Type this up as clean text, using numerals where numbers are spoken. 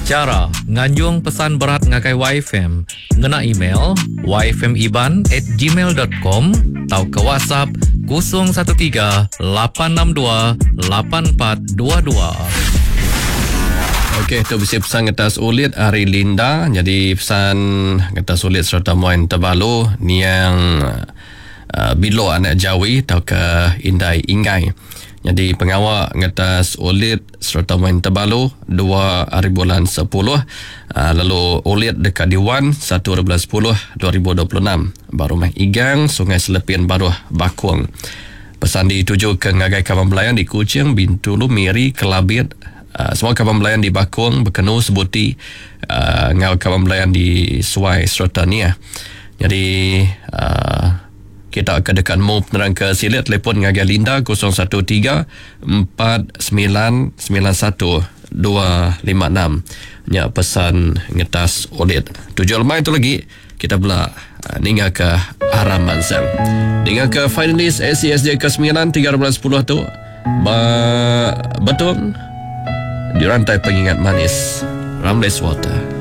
Chara nganjung pesan berat ngagai YFM ngena email yfmiban at gmail dot com tauka WhatsApp 013 862 8422. Okey, tu bisi pesan ngetas ulit ari Linda. Nyadi pesan ngetas ulit sereta muai tebalu niang uh, Bilo anak Jawi tauka Indai Ingai. Nyadi pengawa ngetas ulit sereta main tebalu dua ari bulan sepuluh lalu ulit deka diwan satu ari bulan sepuluh 2026 ba Rumah Igang, Sungai Selepin Baruh, Bakong. Pesan ditujuka ngagai kaban belayan di Kuching, Bintulu, Miri, Kelabit, semua kaban belayan di Bakong, Bekenu, Sebuti enggau kaban belayan di Suai sereta Niah. Nyadi uhh. Kita ke deka nemu penerang ke silik telefon ngagai Linda 013 4991 256. Nya pesan ngetas ulit. Tuju lemai tu lagi kita bela ninga ke aram mansang. Ninga ke finalis ACSJ ke 9 3 bulan 10 tu ba Betong di rantai pengingat manis Ramles Water.